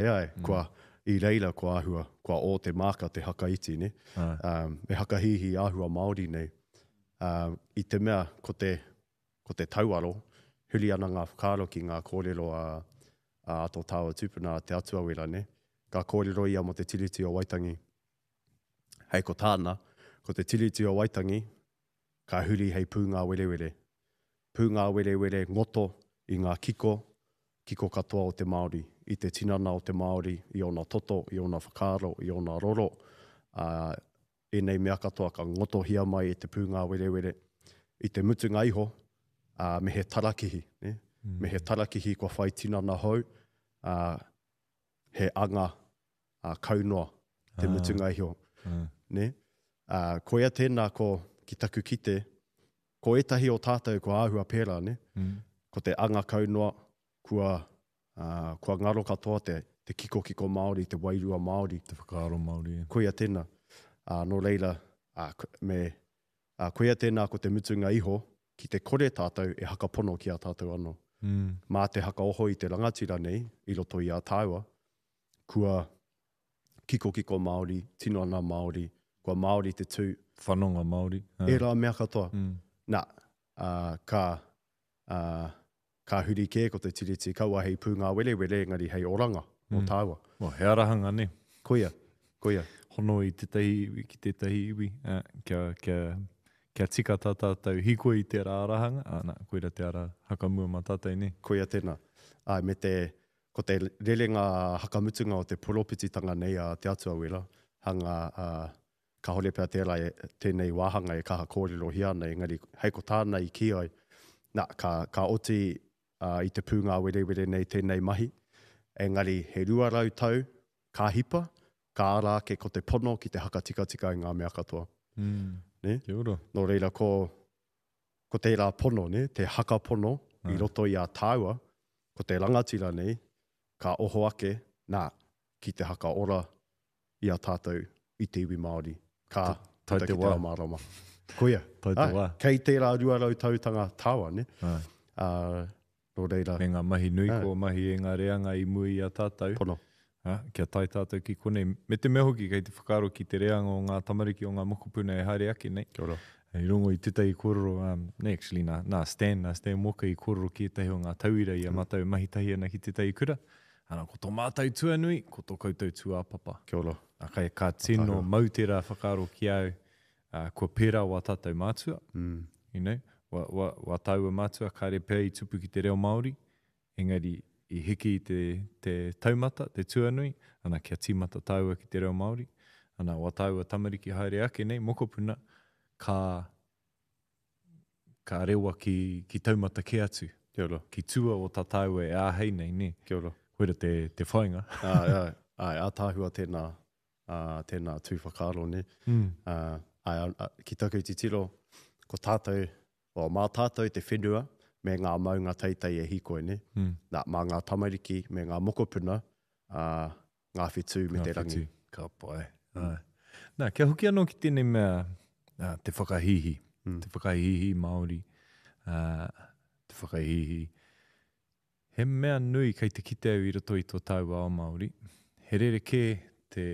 Āe, kua, i reira kua āhua, kua ō te māka te haka iti, nē? Ā, me hakahīhī āhua Māori nei. Ā, i te mea ko te, ko te tauaro, huri ana ngā whakaaro ki ngā kōrero a, a tō tāua tupuna a Te Atuawera, nē? Ka kōrero ia mō te Tiriti o Waitangi. Hei ko tāna, ko te Tiriti o Waitangi, ka huri hei pūngāwerewere. Pūngāwerewere ngoto i ngā kiko, kiko katoa o te Māori, i te tinana o te Māori, i ōna toto, i ōna whakaaro, i ōna roro, ā, ēnei mea katoa ka ngotohia mai e te pūngāwerewere. I te mutunga iho, ā, me he tarakihi, nē? Me he tarakihi kua whai tinana hou, ā, he anga ā, kau noa te mutunga iho. Nē? Ā, koia tēnā ko, ki taku kite, ko ētahi o tātou kua āhua pērā, nē? Ko te anga kau noa, kua, ā, kua ngaro katoa te, te kikokiko Māori, te wairua Māori. Te whakaaro Māori, e. Koia tēnā. Ā, nō reira, ā, me, ā, koia tēnā ko te mutunga iho, ki te kore tātou e hakapono ki a tātou anō. Mā te hakaoho i te rangatira nei i roto i a tāua, kua kikokiko Māori, tinana Māori, kua Māori te tū. Whanonga Māori. Ērā mea katoa. Nā, ka, ka huri kē ko te Tiriti, kaua hei pūngāwerewere engari hei oranga mō tāua. Well, he arahanga, nē? Koia, koia. Hono i tētahi iwi ki tētahi iwi, kia, kia, kia tika tā tātou hīkoi i tērā arahanga, ā, nā, koira te ara hakamua mā tātou, nē? Koia tēnā. Āe, me te, Ko te rerenga hakamutunga o te poropititanga nei a Te Atua Wera, hanga, ā, kāore pea tērā e, tēnei wāhanga e kaha kōrerohia ana, engari hei ko tāna i kī ai, nā, ka, ka oti, ā, i te pūngāwerewere nei tēnei mahi, engari he 200 tau ka hipa, ka ara ake ko te pono ki te hakatikatika i ngā mea katoa. Mm. Nē? Kia ora. Nō reira, ko, ko tērā pono, nē, te hakapono i roto i a tāua, ko te rangatira nei, ka oho ake, nā, ki te hakaora i a tātou i te iwi Māori. Ka puta ki te ao mārama. Koia. Tau te wā. Kei tērā 200 tautanga tāua, nē? Ā, nō reira. Me ngā mahi nui kua mahi e ngā reanga i mua i a tātou. Pono. Ā, kia tae tātou ki konei. Me te mea hoki kei te whakaaro ki te reanga o ngā tamariki o ngā mokopuna e haere ake nei. Kia ora. I rongo i tētahi kōrero, um, nē, actually, nā, nā Stan, nā Stan Walker i kōrero ki ētahi o ngā tauira i a mātou e mahi tahi ana ki tētahi kura. Ana, ko tō mātou tuanui, ko tō koutou tūāpapa. Kia ora. Ā, kai, ka tino mau tērā whakaaro ki a au, ā, kua pērā wā tātou mātua, mm. you know, wā, wā, wā tāua mātua, kāre pea i tupu ki te reo Māori, Engari, i hiki i te, te taumata, te tuanui, ana, kia tīmata tāua ki te reo Māori, ana, wā tāua tamariki haere ake nei, mokopuna, ka, ka rewa ki, ki taumata kē atu. Kia ora. Ki tua o tā tāua e āhei nei, nē. Kia ora. Koira te, te whāinga. Āe, āe, āe, ātaahua tēnā, ā, tēnā tū whakaaro, nē. Mm. Ā, āe, ā, ki taku titiro, ko tātou, Well, mā tātou te whenua me ngā maunga teitei e hīkoi, nē? Mm. Nā, mā ngā tamariki me ngā mokopuna, ā, ngā whetū me te rangi. Ngā whetū, ka pai. Mm. Āe. Nā, kia hoki anō ki tēnei mea, ā, te whakahīhī, mm. te whakahīhī Māori, ā, te whakahīhī. He mea nui kei te kite au i roto i tō tāua ao Māori, he rerekē te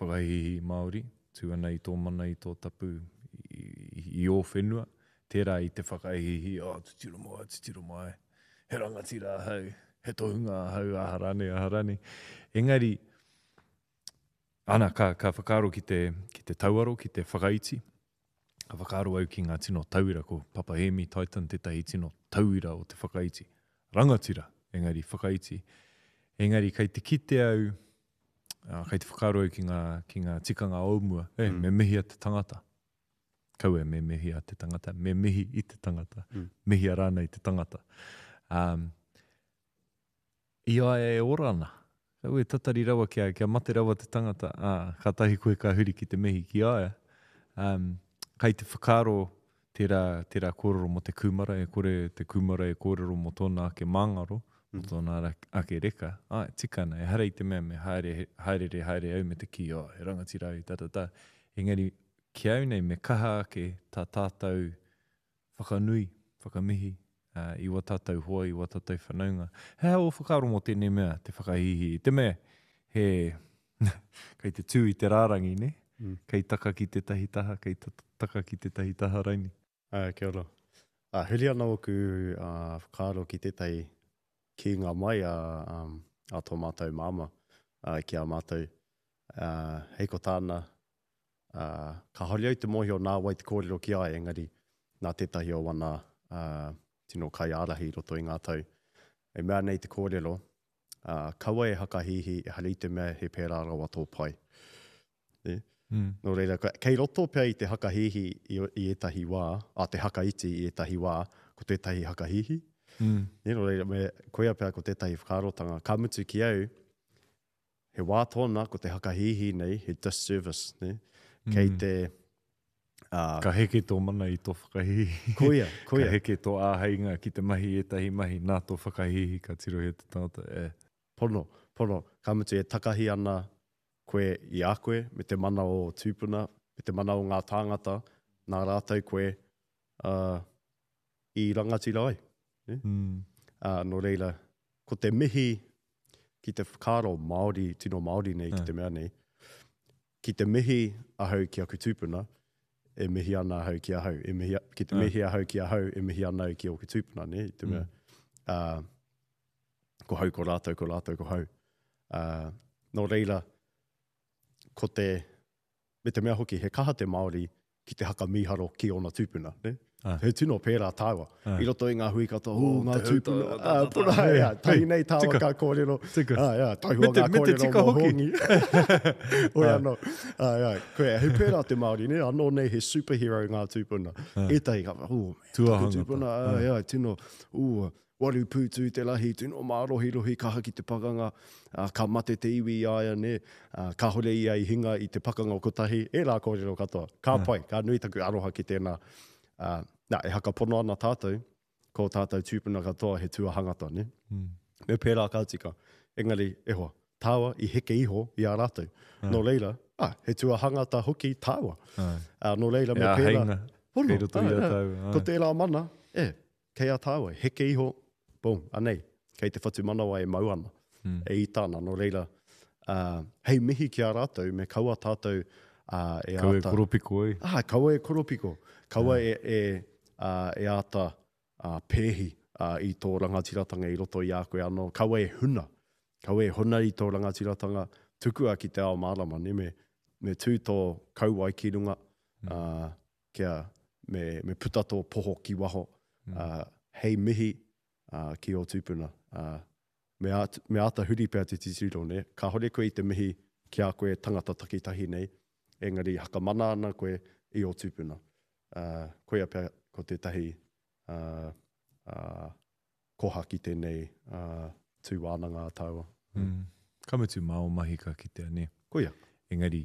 whakahīhī Māori, tū ana i tō mana, i tō tapu, i, i ō whenua, tērā i te whakahīhī, oh, titiro mai, titiro mai, he rangatira ahau, he tohunga ahau, aha rānei, aha rānei. Engari, ana, ka, ka whakaaro ki te, ki te tauaro, ki te whakaiti, Ka whakaaro au ki ngā tino tauira, ko Papa Hēmi Titan tētahi tino tauira o te whakaiti. Rangatira, engari whakaiti. Engari kei te kite au, ā, kei te whakaaro au ki ngā, ki ngā tikanga o mua, e, mm. me mihia te tangata. Kaua me mihia te tangata, me mihi i te tangata. Mm. Mihia rānei te tangata. Um, I a ia e ora ana. Kaua e tatari rawa kia, kia mate rawa te tangata, ā, kātahi koe ka huri ki te mihi ki a ia. Um, kai te whakaaro tērā, tērā kōrero mō te kūmara, e kore te kūmara e kōrero mō tōna ake māngaro, mō mm. tōna ake reka. Āe, tika ana, ehara i te mea me haere, haerere haere au me te kī, oh, he rangatira au, ta ta ta. Engari, ki au nei, me kaha ake tā tātou whakanui, whakamihi i wā tātou hoa, i wā tātou whanaunga. He aha ō whakaaro mō tēnei mea, te whakahīhī i te mea? He, kei te tū i te rārangi, nē? Mm. Kei taka ki tētahi taha, kei taka ki tētahi taha raini. Ā, kia ora. Ā, huri ana ōku ā, whakaaro ki tētahi kīnga mai a, um, a tō mātou māmā ā, ki a mātou. Ā, hei ko tāna, ā, kāore au te mōhio nā wai te kōrero ki a ia, engari nā tētahi o wana ā, tino kaiārahi i roto i ngā tau. E mea nei te kōrero, ā, kaua e hakahīhī, ehara i te mea he pērā rawa tō pai. Nē? Mm. Nō reira, kei roto pea i te hakahīhī i, i ētahi wā, a te hakaiti i ētahi wā, ko tētahi hakahīhī. Mm. Nē, nō reira, me, koia pea ko tētahi whakaarotanga. Ka mutu ki au, he wā tōna ko te hakahīhī nei, he disservice, nē? Kei mm. te, Uh, ka heke tō mana i tō whakahīhī. Koia, koia. Ka heke tō āheinga ki te mahi ētahi mahi nā tō whakahīhī ka tirohia te tangata. E. Pono, pono. Ka mutu e takahi ana koe i a koe me te mana o ō tūpuna, me te mana o ngā tāngata nā rātou koe uh, i rangatira ai. Ne? Mm. Uh, nō reira, ko te mihi ki te whakaaro Māori, tino Māori nei ki te mea nei, ki te mihi ahau ki aku tūpuna, e mihi ana ahau ki ahau, e mihi, ki te mihi ahau ki ahau, e mihi ana au ki ōku tūpuna, ne? I te mea, mm. uh, ko hau ko rātou, ko rātou ko hau. Uh, nō reira, ko te, me te mea hoki, he kaha te Māori ki te haka mīharo ki ōna tūpuna, ne? Ah. He tino pērā tāua. Ah. I roto i ngā hui katoa, oh, ngā tūpuna, ah, puna, yeah, tahi nei tāua ka kōrero. Tika. Ah, yeah, taihua ngā kōrero mō Hongi. Oi ah. anō. Ah, yeah. Koe, he pērā te Māori, ne? Anō nei he superhero ngā tūpuna. Ah. Ētahi ka, oh, man, tūpuna, ah, yeah, tino, oh, Waru pūtū te rahi, tino mārohirohi, kaha ki te pakanga, ā, ka mate te iwi i a ia, nē, ā, kāhore ia i hinga i te pakanga kotahi, ērā kōrero katoa. Ka pai, ka nui taku aroha ki tēnā. Ā, nā, e hakapono ana tātou, ko ō tātou tūpuna katoa he tuahangata, nē? Me pērā ka tika. Engari, e hoa, tāua i heke iho i a rātou. Nō reira, ā, he tuahangata hoki tāua. Ā, nō reira, me pērā. He āheinga kei roto i a tāua. Ko tērā mana, e, Kei a tāua, heke iho, boom, anei, kei te whatumanawa e mau ana, mm. e ita ana, nō reira, uh, hei mihi ki a rātou, me kaua tātou uh, e kaua āta... Kaua e koropiko ai. Ah, kaua e koropiko, kaua e, e, uh, e āta uh, pēhi uh, i tō rangatiratanga i roto i a koe anō, kaua e huna, kaua e huna i tō rangatiratanga, tukua ki te ao mārama, ne, me, me tū tō kauae ki runga, mm. uh, kia me, me puta tō poho ki waho, mm. uh, hei mihi uh, ki ō tūpuna. Uh, me, āt, me āta huri pea te titiro, ne? Kāhore koe i te mihi ki a koe tangata takitahi nei, engari hakamana ana koe i ō tūpuna. Uh, koia pea ko tētahi uh, uh, koha ki tēnei uh, tū wānanga a tāua. Mm. Ka mutu mā o mahi ka kitea, nē? Koia. Engari,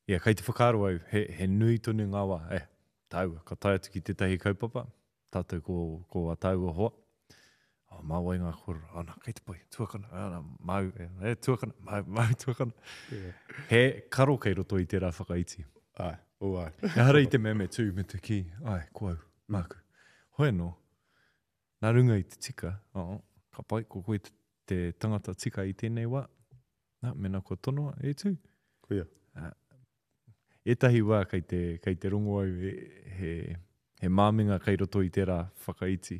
ia, kei te whakaaro au, he, he nui tonu ngā wā, eh, tāua, ka tae atu ki tētahi kaupapa, tātou ko, ko a tāua hoa, oh, mā wai ngā kōrero, oh, nā, kei te pai, tuakana, ah, nā, māu, e, e, tuakana, māu, māu, tuakana. Yeah. He karo kei roto i tērā whakaiti. Ai, oh, ai. Ehara i te mea me tū, me te kī, ai, ko au, māku. Hoi anō, Nā runga i te tika, oh, ka pai, ko koe te tangata tika i tēnei wā. Nā, mēnā kua tonoa, e tū. Koia. Uh, ētahi wā kei te, kei te rongo au he, he, he māminga kei roto i tērā whakaiti.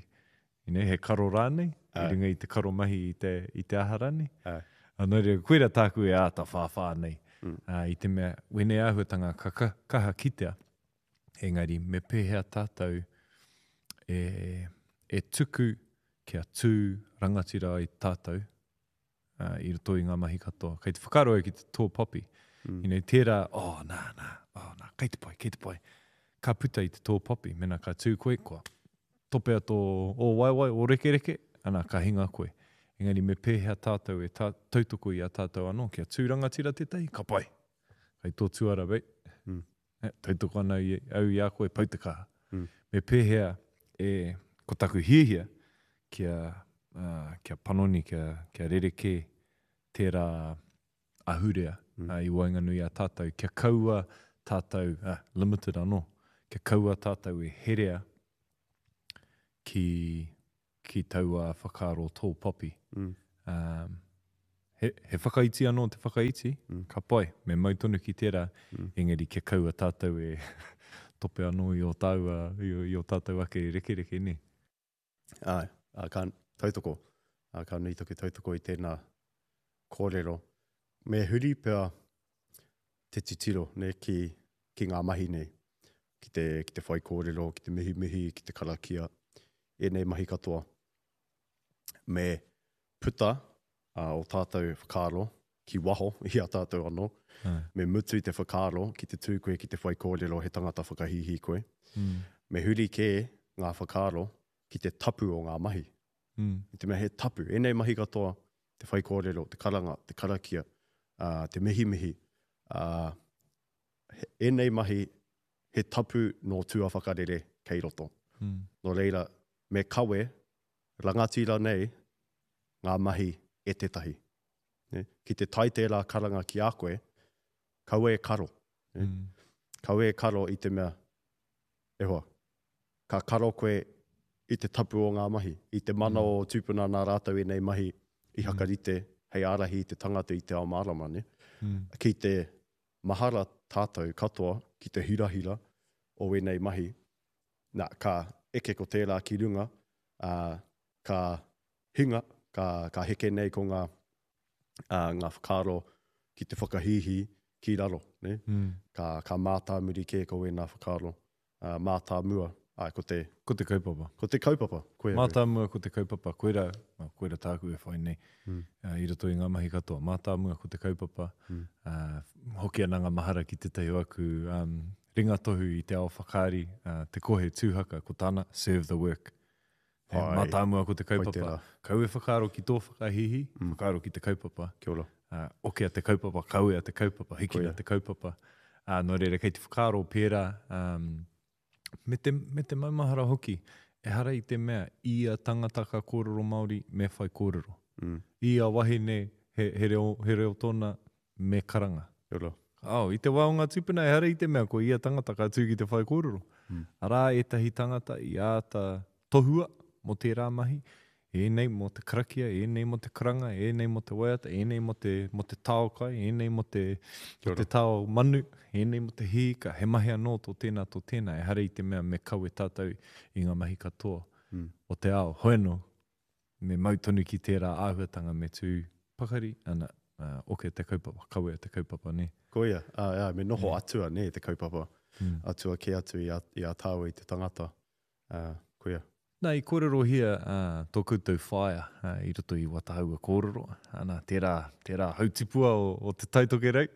You know, he karo rānei, i runga i te karo mahi i te, i te aha rānei. Ai. Nō reira, koira tāku e āta whāwhā nei. Mm. Uh, I te mea, wēnei āhuatanga ka, ka kaha kitea, Engari, me pēhea tātou e, e tuku kia tū rangatira ai tātou uh, i roto i ngā mahi katoa. Kei te whakaaro au ki te tō poppy. Mm. You know, tērā, oh, nā, nā, oh, nā, kei te pai, kei te pai. Ka puta i te tō poppy, mena ka tū koe, kua topea tō ō waewae, ō rekereke, ana, ka hinga koe. Engari me pēhea tātou e tā, tautoko i a tātou anō, kia tū rangatira tētahi, ka pai. Kei tō tuara, bei. Mm. E, tautoko ana i, au i a koe, pau te kaha. Mm. Me pēhea e, ko taku hiahia kia, uh, kia panoni, kia, kia rerekē tērā ahurea mm. uh, i waenganui a tātou, kia kaua tātou, uh, limited anō, kia kaua tātou e herea ki, ki taua whakaaro tō poppy. Mm. Um, He, he whakaiti anō te whakaiti, mm. ka pai, me mau tonu ki tērā, mm. engari kia kaua tātou e tope anō i o tāua, i, i o tātou ake rekereke, nē? Āe, ā, ka tautoko, ā, ka nui taku tautoko i tēnā kōrero. Me huri pea te titiro, nē, ki, ki ngā mahi nei, ki te, ki te whaikōrero, ki te mihimihi, ki te karakia, ēnei mahi katoa. Me puta ā, o tātou whakaaro ki waho i a tātou anō. Me mutu i te whakaaro ki te tū koe ki te whaikōrero he tangata whakahīhī koe. Mm. Me huri kē ngā whakaaro ki te tapu o ngā mahi. Mm. I te mea he tapu, ēnei mahi katoa, te whaikōrero, te karanga, te karakia, ā, te mihimihi, ā, ēnei mahi he tapu nō tua whakarere kei roto. Mm. Nō reira, me kawe rangatira nei ngā mahi e tētahi. Ki te tae tērā karanga ki a koe, kaua e karo. Mm. Kaua e karo i te mea, e hoa, ka karo koe i te tapu o ngā mahi, i te mana mm. o tūpuna nā rātou ēnei mahi i mm. hakarite hei ārahi i te tangata i te ao mārama. Ne? Mm. Ki te mahara tātou katoa ki te hirahira o ēnei mahi, nā, ka eke ko tērā ki runga, ā, ka hinga, ka, ka heke nei ko ngā, ā, ngā whakaaro ki te whakahīhī ki raro, nē? Mm. Ka, ka mātāmuri kē ko ēnā whakaaro, ā, mātāmua, āe, ko te... Ko te kaupapa. Ko te kaupapa, koia. Mātāmua ko te kaupapa, koirā, koirā tāku e whai nei, mm. ā, i roto i ngā mahi katoa. Mātāmua ko te kaupapa, mm. ā, hoki ana ngā mahara ki tētahi o aku, um, ringatohu i te ao whakaari, ā, te kohe tūhaka, ko tāna, serve the work. He mātāmua ko te kaupapa. Kau e whakaaro ki tō whakahīhī, mm. whakaaro ki te kaupapa. Kia ora. Uh, okea te kaupapa, kawea te kaupapa, hikina te kaupapa. Uh, nō reira, kei te whakaaro pērā, um, me, te, me te maumahara hoki, ehara i te mea, ia tangata ka kōrero Māori, me whai kōrero. Mm. Ia wahine, he, he, reo, he reo tōna, me karanga. Kia ora. Oh, i te wā o ngā tūpuna, ehara i te mea ko ia tangata ka tū ki te whaikōrero. Mm. Arā ētahi tangata i āta tohua mō tērā mahi, ēnei mō te karakia, ēnei mō te karanga, ēnei mō te waiata, ēnei mō te, mō te tao kai, ēnei mō te, mō te tao manu, ēnei mō te hīka, he mahi anō tō tēnā, tō tēnā, ehara i te mea me kawe tātou i ngā mahi katoa mm. o te ao. Hoi anō, me mau tonu ki tērā āhuatanga me tū pakari, ana, oke te kaupapa, kawea te kaupapa, nē. Koia, āe, āe, me noho atua, nē, te kaupapa. Atua kē atu i a, i a tāua i te tangata. Ā, koia. Nā, i kōrerohia tō koutou whaea i roto i wā tāua kōrero, ana, tērā, tērā hautipua o, o Te Tai Tokerau,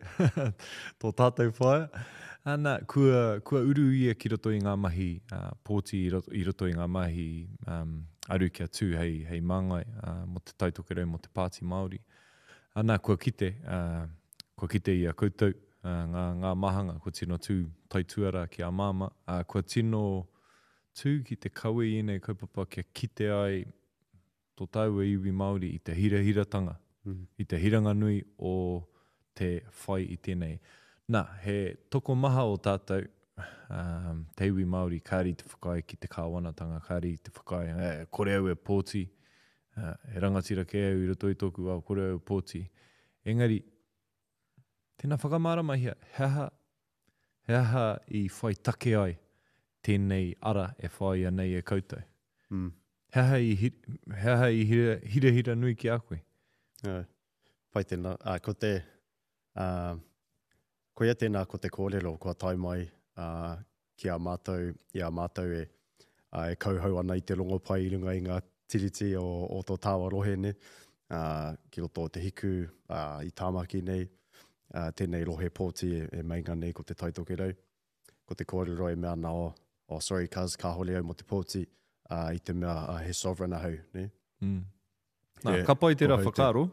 tō tātou whaea. Ana, kua, kua uru ia ki roto i ngā mahi pōti, i roto, i roto i ngā mahi um, aru kia tū hei, hei māngai mō Te Tai Tokerau, mō te Pāti Māori. Ana, kua kite, kua kite i a koutou ngā, ngā mahanga, kua tino tū taituarā ki a Māmā, ā, kua tino tū ki te kawe i ēnei kaupapa kia kite ai tō tāua iwi Māori i te hirahiratanga, i te hiranga nui o te whai i tēnei. Nā, he tokomaha o tātou, te iwi Māori kāre i te whakaae ki te kāwanatanga, kāre i te whakaae, e, kore au e pōti, he rangatira kē au i roto i tōku ao, kore au e pōti. Engari, tēnā whakamāramahia, he aha, he aha i whai take ai tēnei ara e whāia nei e koutou? Mm. He aha i, he aha i hira, hirahira nui ki a koe? Uh, pai tēnā. Uh, ko te, uh, koia tēnā ko te kōrero kua tae mai uh, ki a mātou, i a mātou e, uh, e kauhau ana i te rongopai i runga i ngā tiriti o, o tō tāua rohe nei, uh, ki roto o Te Hiku, uh, i Tāmaki nei, uh, tēnei rohe pōti e, e meinga nei ko Te Tai Tokerau. Ko te kōrero e mea ana, oh, oh sorry cuz, kāhore au mō te pōti, uh, i te mea uh, he sovereign ahau, ne? Mm. Nā, ka pai tērā whakaaro,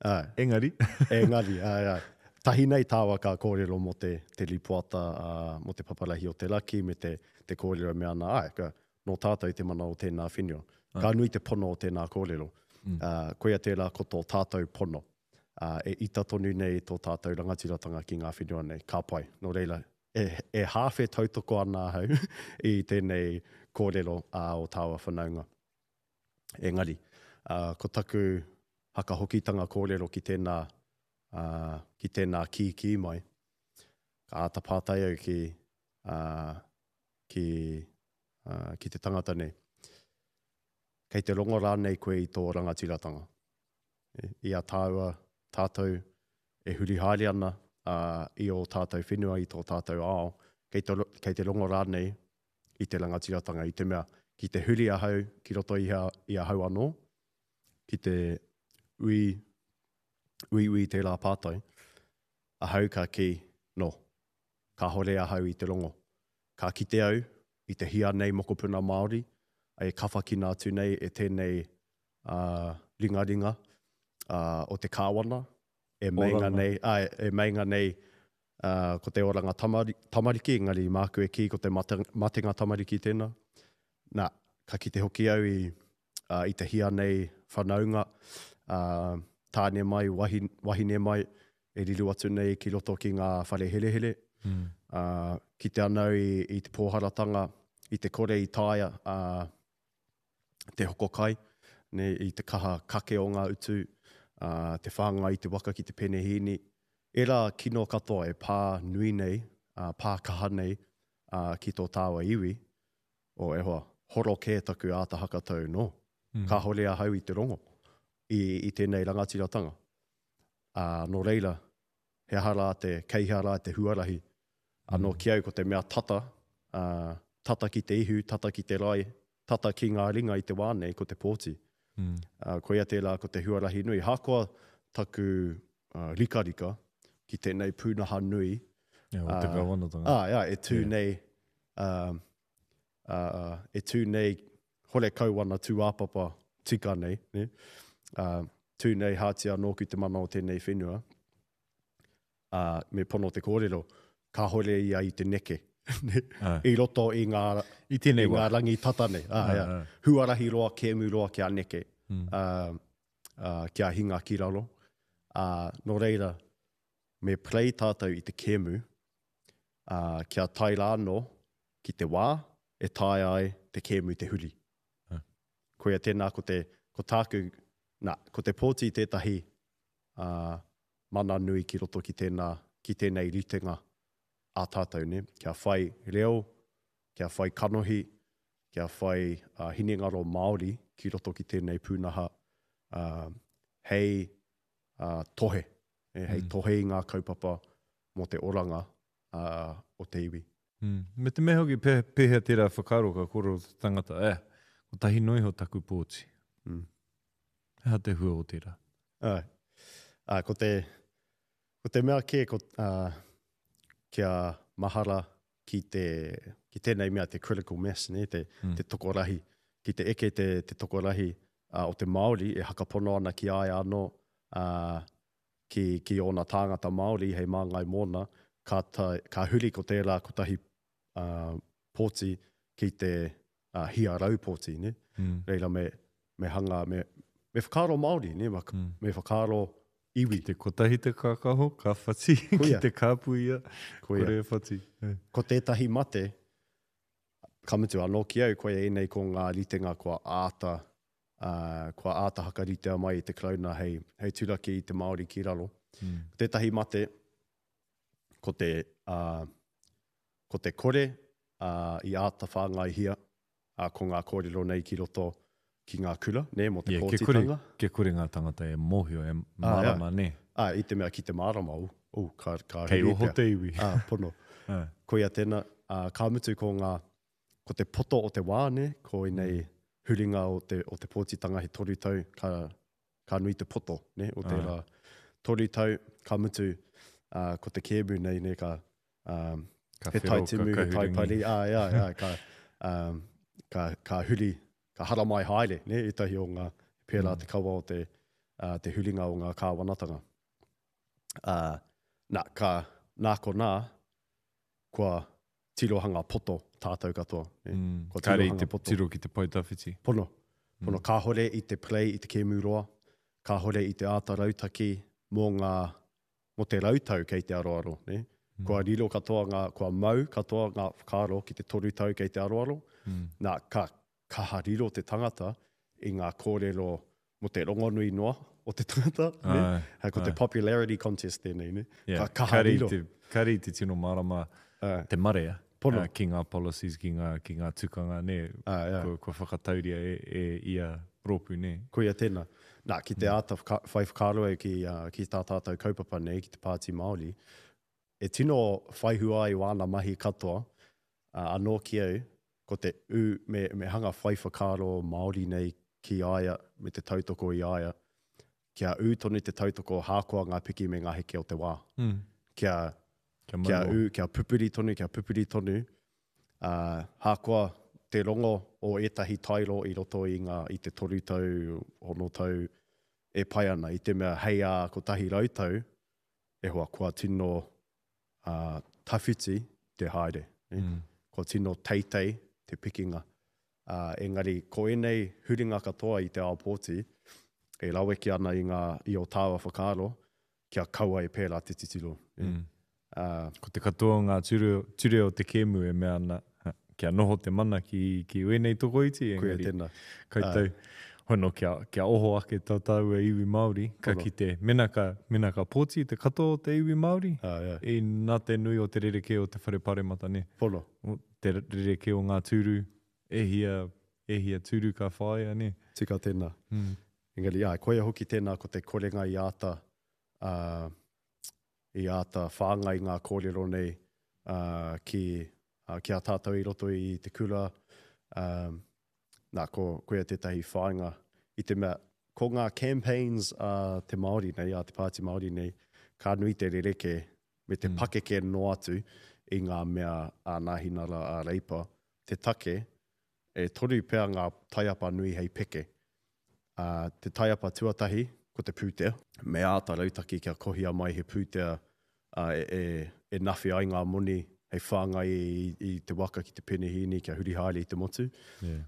Āe. Engari. Engari, āe, āe. Tahi nei tāua ka kōrero mō te, te rīpoata, ā, mō te paparahi o te raki me te, te kōrero me ana, āe, ka, nō tātou te mana o tēnā whenua. Ka nui te pono o tēnā kōrero. Mm. Ā, koia tērā ko tō tātou pono. Ā, e ita tonu nei tō tātou rangatiratanga ki ngā whenua nei. Ka pai. Nō reira, e, e hāwhe tautoko ana ahau i tēnei kōrero ā o tāua whanaunga. Engari, ā, ko taku. hakahokitanga kōrero ki tēnā, ā, ki tēnā kīkī mai. Ka āta pātai au ki, ā, ki, ā, ki te tangata nei. Kei te rongo rānei koe i tō rangatiratanga? I a tāua, tātou e huri haere ana i ō tātou whenua, i tō tātou ao, kei te, kei te rongo rānei i te rangatiratanga, i te mea, ki te huri ahau ki roto i, a, i ahau anō, ki te ui, uiui tērā pātai, ahau ka kī, no, kāhore ahau i te rongo. Ka kite au i te hia nei mokopuna Māori e kawhakina atu nei e tēnei ringaringa o te kāwana e meinga nei, āe, e meinga nei ko te oranga tamariki, engari māku e kī ko te matenga tamariki tēnā. Nā, ka kite hoki au i, i te hia nei whanaunga, tāne mai, wahine mai, e riro atu nei ki roto ki ngā whare herehere. Mm. Uh, kite ana au i, i te pōharatanga, i te kore i taea uh, te hoko kai, ne, i te kaha kake o ngā utu, uh, te whāngai i te waka ki te penehīni. Ērā kino katoa e pā nui nei, uh, pā kaha nei uh, ki tō tāua iwi, o e hoa, horo kē taku āta hakatau, no. Mm. Kāhore ahau i te rongo i, i tēnei rangatiratanga. Ā, nō reira, he aha rā te, kei hea rā te huarahi? Anō ki au ko te mea tata, ā, tata ki te ihu, tata ki te rae, tata ki ngā ringa i te wā nei, ko te pōti. Ā, koia tērā ko te huarahi nui. Hakoa taku rikarika ki tēnei pūnaha nui, Ā, o te kāwanatanga. Ā, ā, e tū nei, ā, ā, e tū nei horekau ana tūāpapa tika nei, nē, ā, tū nei hātia nōku te mana o tēnei whenua, ā, me pono te kōrero, kāhore ia i te neke, nē, i roto i ngā, I tēnei i ngā rangi tata nei, ā, ā, huarahi roa, kēmu roa kia neke, ā, ā, kia hinga ki raro, ā, nō reira, me play tātou i te kēmu, ā, kia tae rā anō ki te wā e taea ai te kēmu te huri. Koia tēnā ko te, ko tāku, nā, ko te pōti tētahi ā, mana nui ki roto ki tēnā, ki tēnei ritenga a tātou, nē? Kia whai reo, kia whai kanohi, kia whai ā, hinengaro Māori ki roto ki tēnei pūnaha ā, hei ā, tohe, nē? Hei tohe i ngā kaupapa mō te oranga ā, o te iwi. Mm. Me te mea hoki, pē, pēhea tērā whakaaro ka kōrero te tangata, eh, kotahi noa iho taku pōti. Mm. He aha te hua o tērā? Āe. Ā, ko te, ko te mea kē, ko, ā, kia mahara ki te, ki tēnei mea te critical mass, nē, te, mm. te tokorahi, ki te eke te, te tokorahi ā, o te Māori e hakapono ana ki a ia anō, ā, ki, ki ōna tāngata Māori hei māngai mōna, ka, ta, ka huri ko tērā kotahi uh, pōti ki te uh, hia rau pōti, ne? Mm. Reira me, me hanga, me, me whakaaro Māori, ne? Me, mm. me whakaaro iwi. Ki te kotahi te kākaho, ka whati, ki te kāpu ia, Koia. kore e whati. Ko tētahi mate, ka mutu anō ki au, koia ēnei ko ngā ritenga kua āta ā, kua āta hakaritea mai e te Karauna hei, hei turaki i te Māori ki raro. Mm. Ko tētahi mate, ko te, ā, ko te kore ā, i āta whāngaihia ā, ko ngā kōrero nei ki roto ki ngā kura, nē, mō te yeah, pōtitanga. Kia kore, kia kore ngā tangata e mōhio, e mārama, nē. Ā, i te mea ki te mārama, oh, oh, ka, ka Kei oho te iwi. Ā, pono. Koia tēnā, ā, ka mutu ko ngā, ko te poto o te wā, nē, ko ēnei huringa o te, o te pōtitanga he toru tau, ka, ka nui te poto, nē, o tērā toru tau, ka mutu, ā, ko te kēmu nei, nē, ka, ā, Ka he whero, tai ka timu, he tai kahurangi. pari, āe, āe, āe, ka, ā, ka, ka huri, ka haramai haere, nē, ētahi o ngā, pērā te kawa o te, ā, te huringa o ngā kāwanatanga. Ā, nā, ka, nā konā, kua tirohanga poto tātou katoa. Ne? Mm. Kua Kāre i te poto. tiro ki te pae tawhiti. Pono. Pono. Mm. Kāhore i te play i te kēmu roa, kāhore i te āta rautaki mō ngā, mō te rautau kei te aroaro. Ne? Mm. Kua riro katoa ngā, kua mau katoa ngā whakaaro ki te toru tau kei te aroaro. Mm. Nā, ka kaha riro te tangata i ngā kōrero mō te rongonui noa o te tangata, ne? Ai, Ko te ai. popularity contest tēnei, ne? Yeah. Ka kaha Kare i riro. te, kare i te tino mārama Ai. te marea Pono. uh, ki ngā policies, ki ngā, ki ngā tukanga, ne? Ai, ai. Kua, kua whakatauria e, e ia rōpū, ne? Koia tēnā. Nā, ki te āta whaka, whai whakaaro au ki, uh, ki tā tātou kaupapa nei, ki te Pāti Māori, e tino whai hua ai wāna mahi katoa, uh, anō ki au, ko te ū, me, me hanga whai whakaaro Māori nei ki a ia, me te tautoko i a ia, kia ū tonu te tautoko hākoa ngā piki me ngā heke o te wā. Mm. Kia, Kia, kia ū, kia pupuri tonu, kia pupuri tonu, ā, hākoa te rongo o ētahi tairo i roto i ngā, i te toru tau, ono tau, e pai ana, i te mea hei ā 100 tau, e hoa, kua tino ā, tawhiti te haere, nē? Mm. Kua tino teitei te pikinga. Ā, engari, ko ēnei huringa katoa i te ao pōti, e raweke ana i ngā, i ō tāua whakaaro, kia kaua e pērā te titiro, nē? Mm. Ā. Ko te katoa o ngā ture, ture o te kēmu e mea ana, kia noho te mana ki, ki wēnei tokoiti, Koia engari, tēnā. koutou, hono kia, kia oho ake tā tāua iwi Māori, ka Pono. kite, mena ka, mena ka pōti te katoa o te iwi Māori, Ā, yeah. i nā te nui o te rerekē o te whare paremata, nē? Pono. O te rerekē o ngā tūru, e hia, e hia tūru ka whāia, nē? Tika tēnā. Mm. Engari, āe, koia hoki tēnā ko te korenga i āta, ā, i āta whāngai ngā kōrero nei, ā, ki, ā, ki a tātou i roto i te kura, ā, nā, ko, koia tētahi whāinga i te mea, ko ngā campaigns a te Māori nei, a te Pāti Māori nei, ka nui te rerekē me te Mm. pakeke noa atu i ngā mea a Nāhinara, a Reipa, te take, e toru pea ngā taiapa nui hei peke. Ā, te taiapa tuatahi, ko te pūtea. Me āta rautaki kia kohia mai he pūtea ā, e, e, e nawhi ai ngā moni hei whāngai i, i te waka ki te penehīni kia huri haere i te motu. Yeah.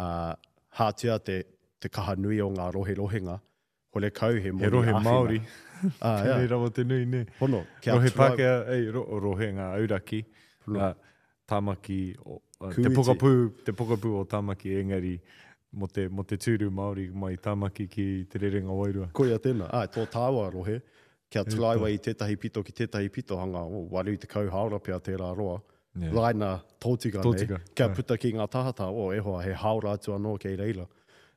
Ā, hātia te, te kaha nui o ngā roherohenga, horekau he moni He rohe āwhina. Māori. Ā, Tēnei yeah. rawa te nui, nē. Pono, kia Rohe tuai- Pākehā, ei, ro, rohe ngā auraki, Pono. ngā Tāmaki, o, uh, te Kūiti. pokapū, te pokapū o Tāmaki, engari mō te, mō te tūru Māori mai Tāmaki ki Te Rerenga Wairua. Koia tēnā. Āe, tō tāua rohe, kia taraiwa i tētahi pito ki tētahi pito, hanga, oh, 80 hāora pea tērā roa. Yeah. Raina tōtika nei, Tōtika, kia āe. puta ki ngā tahataha, oh, e hoa, he hāora atu anō kei reira.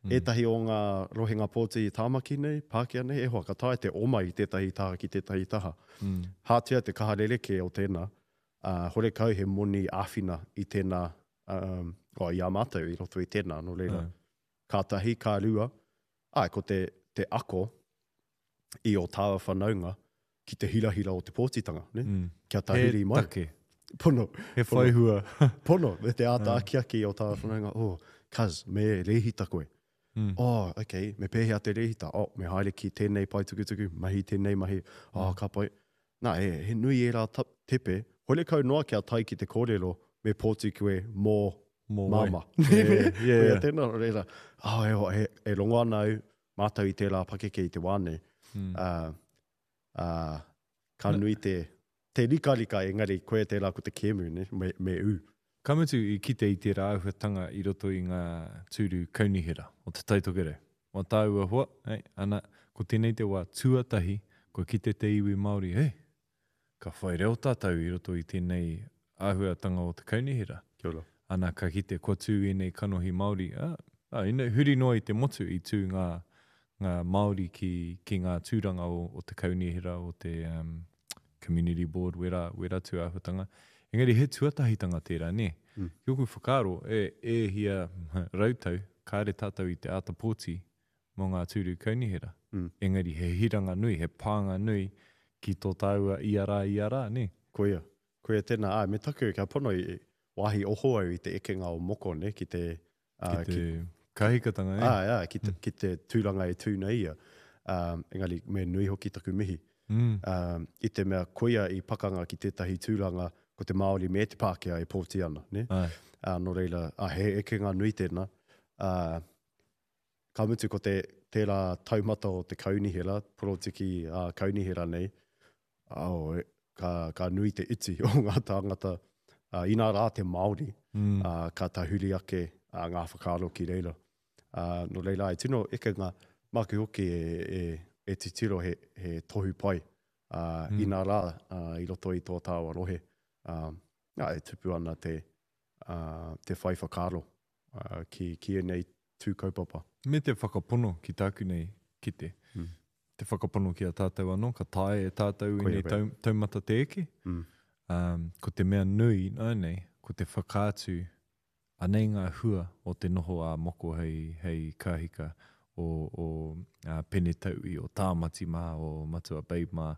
Mm. Ētahi o ngā rohenga pōti i Tāmaki nei, Pākehā nei, e hoa, ka taea te oma i tētahi taha ki tētahi taha. Mm. Hātia te kaha rerekē o tēnā, ā, horekau he moni āwhina i tēnā, um, oh, i a mātou i roto i tēnā, nō reira. Āe. Ka tahi, ka rua, āe, ko te, te ako i ō tāua whanaunga ki te hirahira o te pōtitanga, ne? Mm. Kia tahuri He mai. take. Pono. He Pono. whai hua. Pono, me te āta akiaki o tāua whanaunga, oh, cuz, me rēhita koe. Mm. Oh, okay, me pēhea te rēhita? Oh, me haere ki tēnei pae tukutuku, mahi tēnei mahi, oh, Mm. ka pai. Nā, he, he nui ērā tepe, horekau noa kia tae ki te kōrero, me pōti koe mō Mō wai. māmā. Yeah, yeah, Koia yeah. tēnā, reira, oh, e, e, e rongo ana au, mātou i tērā pakeke i te wā nei. Mm. Uh, uh, ka nui te, te rikarika, engari koia tērā ko te kēmu, ne? Me, me ū. Ka mutu i kite i tērā āhuatanga i roto i ngā tūru kaunihera o Te Tai Tokerau. Mā tāua hoa, hei, ana, ko tēnei te wā tuatahi kua kite te iwi Māori, hei, ka whai reo tātou i roto i tēnei āhuatanga o te kaunihera. Kia ora. Ana, ka kite kua tū ēnei kanohi Māori, ā, ā, ina, huri noa i te motu i tū ngā, ngā Māori ki, ki ngā tūranga o, o te kaunihera, o te um, community board, wērā, wērā tū āhuatanga. Engari he tuatahitanga tērā, nē? Mm. Ki ōku whakaaro, e, e hia rautau, kāre tātou i te āta pōti mō ngā tūru kaunihera. Mm. Engari he hiranga nui, he pānga nui ki tō tāua ia rā, ia rā, nē? Koia. Koia tēnā, āe, me taku, kia pono i wāhi oho au i te ekenga o Moko, nē, ki te... Ki te kahikatanga, nē? Āe, āe, ki te, ki te tūranga e tū nei ia. Um, engari, me nui hoki taku mihi. Mm. Um, i te mea koia i pakanga ki tētahi tūranga ko te Māori me te Pākehā e pōti ana, nē? Āe. Ā, nō reira, ā, he ekenga nui tēnā. Ā, ka mutu ko te, tērā taumata o te kaunihera, porotiki ā, kaunihera nei, oh, e, ka, ka nui te iti o ngā tāngata, ā, inā rā te Māori, Mm. ā, ka tahuri ake ā, ngā whakaaro ki reira. Ā, nō reira, e tino ekenga. Māku hoki e, e, e titiro he, he tohu pai, ā, mm. inā rā, ā, i roto i tō tāua rohe, ā, ā, e tupu ana te, ā, te whai whakaaro, ā, ki, ki ēnei tū kaupapa. Me te whakapono ki tāku nei kite. Mm. Te whakapono ki a tātou anō, ka taea e tātou ēnei tau, taumata te eke. Mm. Um, ko te mea nui ināianei, ko te whakaatu Anei ngā hua o te noho a Moko hei, hei kāhika o, o a Pene Tauī, o Tāmati mā, o Matua Babe mā,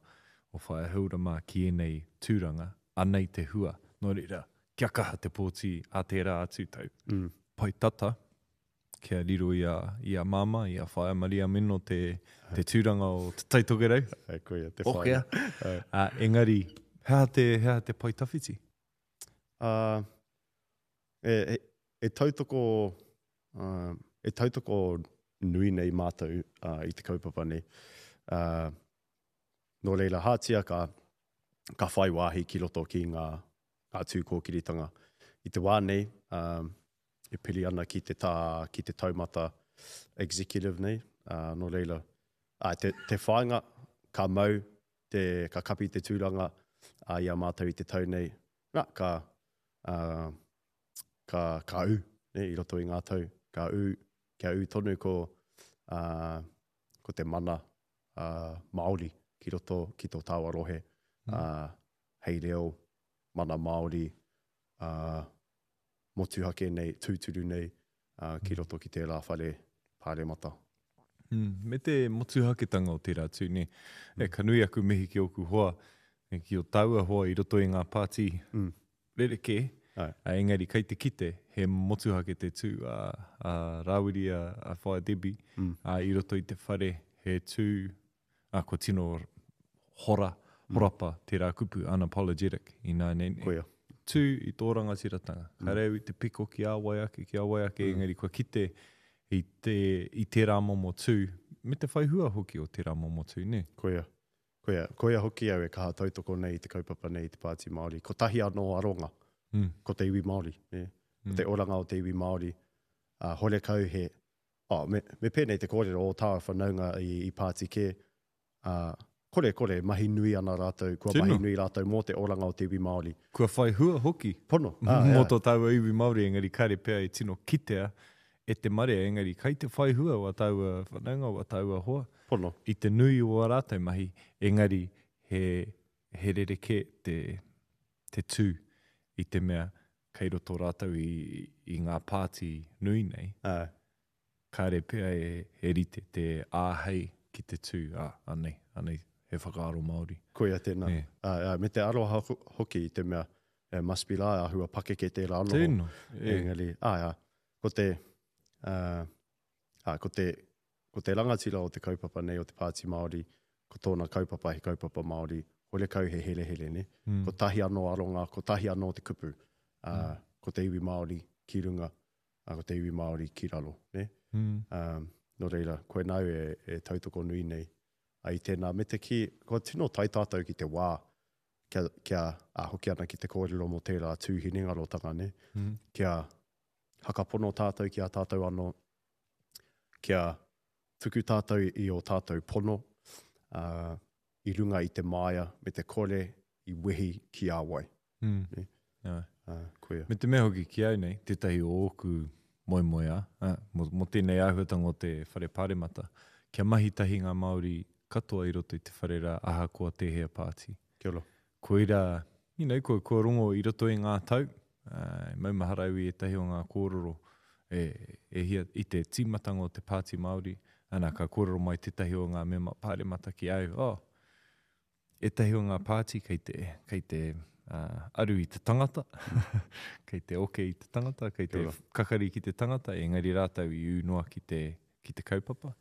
o Whaea Hilda mā ki ēnei tūranga, anei te hua. Nō reira, kia kaha te pōti a tērā atu tau. Mm. Pai tata, kia riro i a, i a Māmā, i a Whaea Maria Meno te, te tūranga o Te Tai Tokerau. Ai, koia, te whaea. Okea. Uh, engari, he aha te, he aha te pae tawhiti? Uh, e, e, e tautoko, uh, e tautoko nui nei mātou uh, i te kaupapa nei. Uh, nō reira, hātia ka, ka whai wāhi ki roto ki ngā, ngā tū kōkiritanga. I te wā nei, um, e piri ana ki te, tā, ki te taumata executive nei, uh, nō reira, uh, te, te whāinga ka mau, te, ka kapi te tūranga uh, i a mātou i te tau nei, nā, ka, ā, ka, ka ū, nē, i roto i ngā tau, ka ū, kia ū tonu ko, ā, ko te mana, ā, Māori ki roto ki tō tāua rohe, ā, hei reo, mana Māori, ā, motuhake nei, tūturu nei, ā, ki roto ki tērā whare pāremata. Mm, me te motuhaketanga o tērā tū, nē. E, ka nui aku mihi ki ōku hoa, e, ki ō tāua hoa i roto i ngā pāti mm. rerekē, Ai. A, engari kei te kite he motuhake te tū a, a Rāwiri, a, a Whaea Debbie, mm. a, i roto i te whare he tū, a, kua tino hora, mm. horapa tērā kupu unapologetic ināianei nei. Koia. Tū i tō rangatiratanga. Mm. Kāre au i te piko ki a wai ake, ki a wai ake, mm. engari kua kite i, te, i tērā momo tū, me te whai hua hoki o tērā momo tū, nē? Koia. Koia. Koia hoki au e kaha tautoko nei i te kaupapa nei i te Pāti Māori. Kotahi anō aronga, mm. ko te iwi Māori, nē? Ko mm. te oranga o te iwi Māori. Uh, horekau he, oh, me, me pēnei te kōrero o tāua whanaunga i, i pāti kē, ā, kore, kore, mahi nui ana rātou, kua Tino. mahi nui rātou mō te oranga o te iwi Māori. Kua whai hua hoki. Pono, ā, ā. Mō tō tāua iwi Māori, engari kāre pea e tino kitea e te marea, engari kai te whai hua wā tāua whanaunga, wā tāua hoa. Pono. I te nui o ā rātou mahi, engari he, he rerekē te, te tū i te mea kei roto rātou i, i ngā pāti nui nei. Ā. Kāre pea e rite te āhei ki te tū, ā, anei, anei he whakaaro Māori. Koia tēnā. Nē. Ā, ā, me te aroha hoki i te mea, e must be rā, āhua pakeke tērā noho. Tēnā, e. Engari, āe, ā, ko te, ā, ā, ko te, ko te rangatira o te kaupapa nei o te Pāti Māori, ko tōna kaupapa he kaupapa Māori, horekau he herehere, nē? Mm. Kotahi anō aronga, kotahi anō te kupu, ā, mm. ko te iwi Māori ki runga, ā, ko te iwi Māori ki raro, nē? Mm. Um, nō reira, koinā au e, e tautoko nui nei a i tēnā. Me te kī, kua tino tae tātou ki te wā kia, kia a, hoki ana ki te kōrero mō tērā tū hinengarotanga, nē? Mm. Kia hakapono tātou ki a tātou anō, kia tuku tātou i ō tātou pono, ā, i runga i te māia me te kore i wehi ki a wai. Mm. Ne? Ai. Ā, koia. Me te mea hoki ki au nei, tētahi o ōku moemoeā, ā, mō, mō tēnei āhuatanga o te whare pāremata, kia mahi tahi ngā Māori katoa i roto i te whare rā ahakoa tēhea pāti. Kia ora. Koirā, you know, kua, kua rongo i roto i ngā tau, ā, e maumahara au i ētahi o ngā kōrero e, e hia, i te tīmatanga o te Pāti Māori, ana, ka kōrero mai tētahi o ngā mema pāremata ki au, oh, ētahi o ngā pāti kei te, kei te uh, aru i te tangata, kei te oke i te tangata, kei te kakari ki te tangata, engari rātou i ū noa ki te, ki te kaupapa.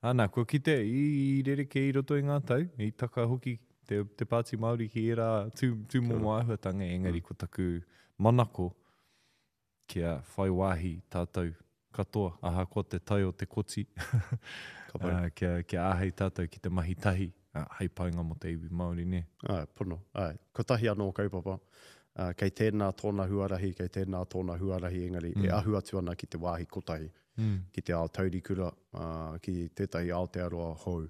Ana, kua kite i, i rerekē i roto i ngā tau, i taka hoki te, te Pāti Māori ki ērā tū, tū momo āhuatanga, engari mm. ko taku manako kia whai wāhi tātou katoa, ahakoa te tae o te koti, uh, kia, kia āhei tātou ki te mahi tahi, uh, hei painga mō te iwi Māori, nē? Āe, pono, āe. Kotahi anō kaupapa, uh, kei tēnā tōna huarahi, kei tēnā tōna huarahi, engari mm. e ahu atu ana ki te wāhi kotahi. ki te ao taurikura, ki tētahi Aotearoa hou.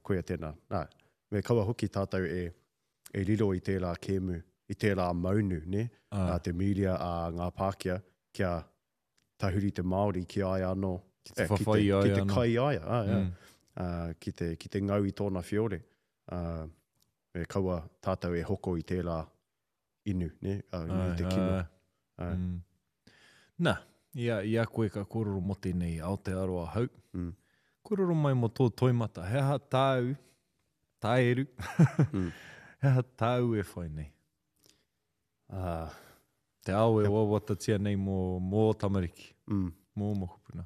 Koia tēnā. Nā, me kaua hoki tātou e, e riro i tērā kēmu, i tērā maunu, nē, a te mīria a ngā Pākehā, kia tahuri te Māori ki a ia anō. Ki te whawhai i a ia anō. Ki te kai i a ia, āe, āe. Ki te, ki te ngau i tōna whiore. Me kaua tātou e hoko i tērā inu, nē, inu i te kino. Āe. Nā, i a, i a koe ka kōrero mō tēnei Aotearoa hou, kōrero mai mō tō toimata, he aha tāu, tāeru, he aha tāu e whai nei? Ā. Te ao e wawatatia nei mō, mō ō tamariki, mō ō mokopuna.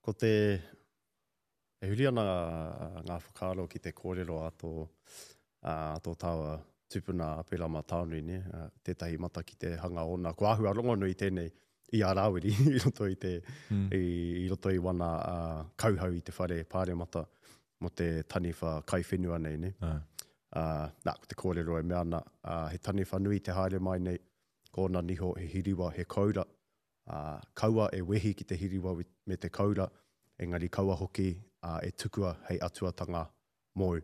Ko te, E huri ana ngā whakaaro ki te kōrero a tō, a tō tāua tupuna a Aperama Taonui, nē, tētahi mata ki te hanga ōna. Kua āhua rongonui tēnei i a Rāwiri i roto i te, i, i roto i wana kauhau i te whare pāremata mō te taniwha kai whenua nei, nē. Ā, nā, ko te kōrero e mea ana, he taniwha nui te haere mai nei, ko ōna niho he hiriwa, he koura, Ā, kaua e wehi ki te hiriwa me te koura, engari kaua hoki e tukua hei atuatanga mōu.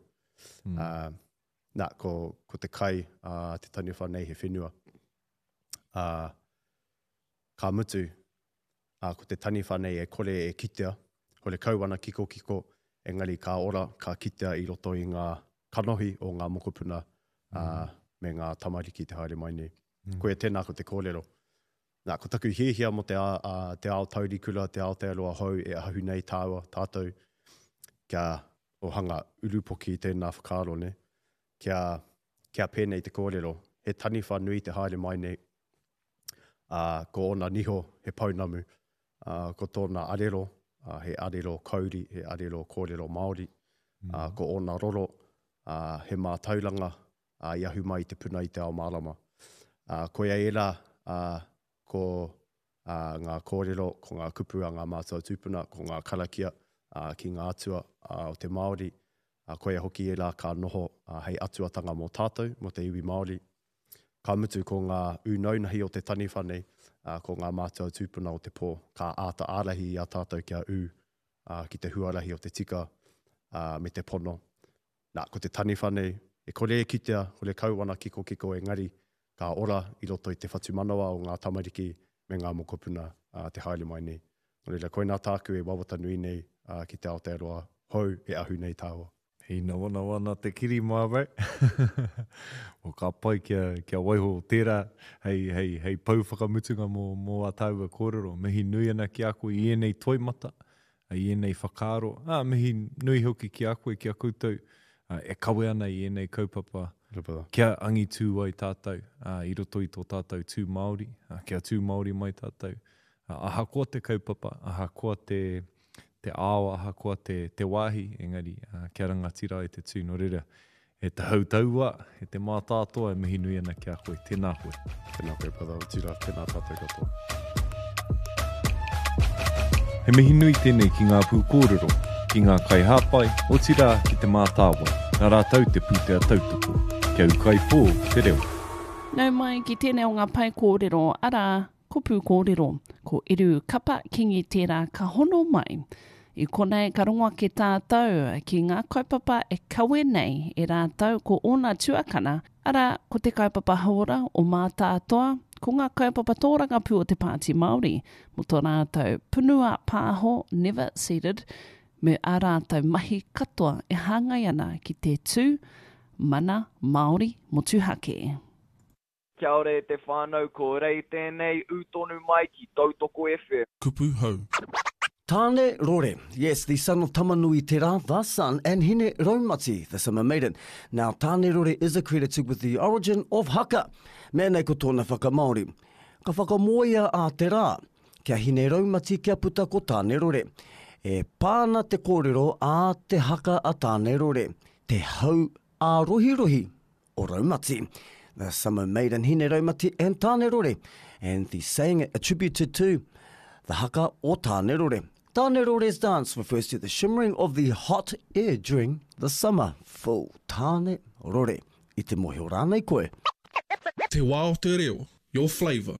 Ā, nā, ko, ko te kai a te taniwha nei he whenua. Ā, ka mutu, ā, ko te taniwha nei e kore e kitea, horekau ana kikokiko, engari ka ora, ka kitea i roto i ngā kanohi o ngā mokopuna, ā, me ngā tamariki te haere mai nei. Koia tēnā ko te kōrero. Nā, ko taku hiahia mō te, a, te ao taurikura, te Aotearoa hou e ahu nei tāua, tātou, kia ohanga urupoki tēnā whakaaro, nē? Kia, kia pēnei te kōrero, he taniwha nui te haere mai nei, ā, ko ōna niho he pounamu, ā, ko tōna arero, ā, he arero kauri, he arero kōrero Māori, ā, ko ōna roro, ā, he mātauranga, ā, i ahu mai i te puna i te ao mārama. Ā, koia ērā, ā, ko, ā, ngā kōrero, ko ngā kupu a ngā mātua tūpuna, ko ngā karakia, ā, ki ngā atua, ā, o te Māori, ā, koia hoki ērā ka noho, ā, hei atuatanga mō tātou, mō te iwi Māori. Ka mutu ko ngā ūnaunahi o te taniwha nei, ā, ko ngā mātua tūpuna o te pō, ka āta ārahi i a tātou kia ū, ā, ki te huarahi o te tika, ā, me te pono. Nā, ko te taniwha nei, e kore e kitea, horekau ana kikokiko engari, ka ora i roto i te whatumanawa o ngā tamariki me ngā mokopuna te haere mai nei. Nō reira, koinā tāku e wawata nui nei ki te Aotearoa hou e ahu nei tāua. Hīnawanawa ana te kiri mā bro. Well, ka pai kia, kia waiho tērā hei, hei, hei pou whakamutunga mō, mō ā tāua kōrero. Mihi nui ana ki a koe i ēnei toimata, i ēnei whakaaro, ā, mihi nui hoki ki a koe, ki a koutou e kawe ana i ēnei kaupapa kia angitū ai tātou i roto i tō tātou tū Māori, kia tū Māori mai tātou. Ahakoa te kaupapa, ahakoa te, te ao, ahakoa te, te wāhi, engari kia rangatira ai te tū. Nō reira, E te hautaua, e te mātātoa e mihi nui ana ki a koe. Tēnā koe. Tēnā koe brother, otirā, tēnā tātou katoa. He mihi nui tēnei ki ngā pūkōrero, ki ngā kaihāpai, otirā ki Te Mātāwai, nā rātou te pūtea tautoko. Kia ūkaipō te reo. Nau mai ki tēnei o ngā pae kōrero, arā, Ko Pūkōrero, ko Eru Kapa Kingi tērā ka hono mai. I konei ka rongo ake tātou ki ngā kaupapa e kawe nei e rātou ko ōna tuakana, arā, ko te kaupapa hauora o Mātātoa, ko ngā kaupapa tōrangapū o te Pāti Māori, mō tō rātou punua pāho Never Seated, me ā rātou mahi katoa e hāngai ana ki te tū mana Māori motuhake. Kia ora e te whānau, ko Rei tēnei, ū tonu mai ki Tautoko FM. Kupu hou. Tāne Rore, yes, the son of Tamanui-te-rā, the sun, and Hine Raumati, the summer maiden. Now, Tāne Rore is accredited with the origin of haka. Mea nei ko tōna whakamāori. Ka whakamoea a Te Rā, kia Hine Raumati kia puta ko Tāne Rore. E pā ana te kōrero a te haka a Tāne Rore, te hau ārohirohi o Raumati. The summer maiden Hine Raumati and Tāne Rore, and the saying attributed to the haka o Tāne Rore. Tāne Rore's dance refers to the shimmering of the hot air during the summer. Full Tāne Rore. I te mohio rānei koe? Te wā o te reo, your flavour.